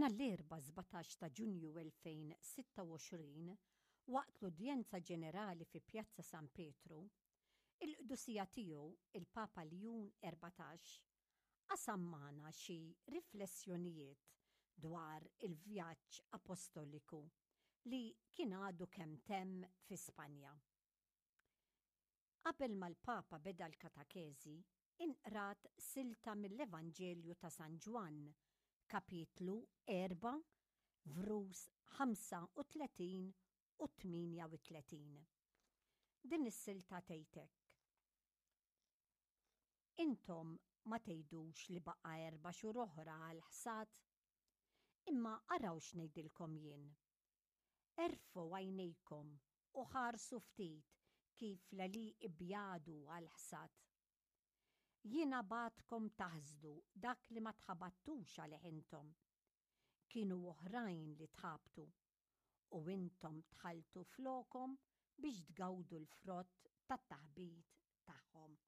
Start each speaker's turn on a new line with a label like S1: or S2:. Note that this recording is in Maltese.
S1: Nhar l-Erbgħa 17 ta' Ġunju 2026, waqt l-Udjenza Ġenerali fi Pjazza San Pietru, il-Qdusija Tiegħu il-Papa Ljun 14 qasam magħna xi riflessjonijiet dwar il-vjaġġ apostoliku li kien għadu kemm temm fi Spanja. Qabel ma l-Papa beda l-katakezi, inqrat silta mill-Evanġelju ta' San Ġwann, kapitlu 4, vrus 35 u 38. Din is-silta tgħid hekk, Intom ma tgħidux li baqa' erba' xhur oħra għall-ħsad? Imma araw x'ngħidilkom jien. Erfgħu għajnejkom u ħarsu ftit kif l-għelieqi bjadu għall-ħsad. Jiena bgħattkom taħsdu dak li ma tħabattux għalih intom. Kienu oħrajn li tħabtu, u intom dħaltu flokhom biex tgawdu l-frott tat-taħbit tagħhom.